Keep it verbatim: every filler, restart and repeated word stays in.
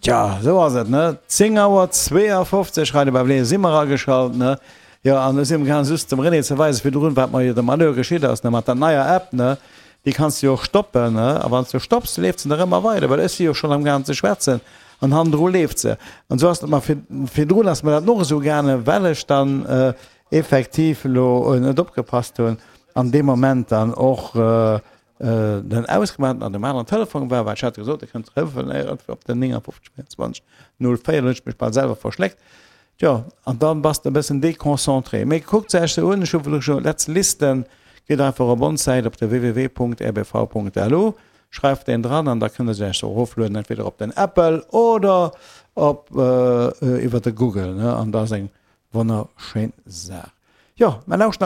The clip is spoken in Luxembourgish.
Tja, esou ass et, ne? Zéng Auer zweeafofzeg, Radio Bavlé, si mer ageschalt, ne? Jo, an ech sinn amgaang just dem René ze weisen virdrun, wat mer jo de Malheur geschitt ass, ne, mat der neier App, ne? Déi kanns de jo och stoppen, ne? A wann s de stopps, leeft se nach ëmmer weider, well ech si jo schonn amgaang ze schwätzen an hannendru leeft se. An esou ass et mer vir, virdrun ass mer dat och esou gaangen, well ech dann effektiv elo net opgepasst hunn an dee Moment dann och den ausgemaach an dem aneren Telefon war, well ech hat gesot, e kënnt telefonéieren fir op den néngafofzeg véierundzwanzeg null véier, dann hunn ech mech bal selwer verschléckt. Tjo, an dann bass de e bëssen deconcentré. Mee kuckt se iech se un, ech hu wierklech elo letz Listen, gitt einfach op ons Säit op de www.rbv.lu, schreift deen dran an da kënnt der se iech se eroflueden, entweder op den Apple oder op iwwer de Google, ne, an dat ass eng wonnerschéin Saach. Jo, mer lauschten nach e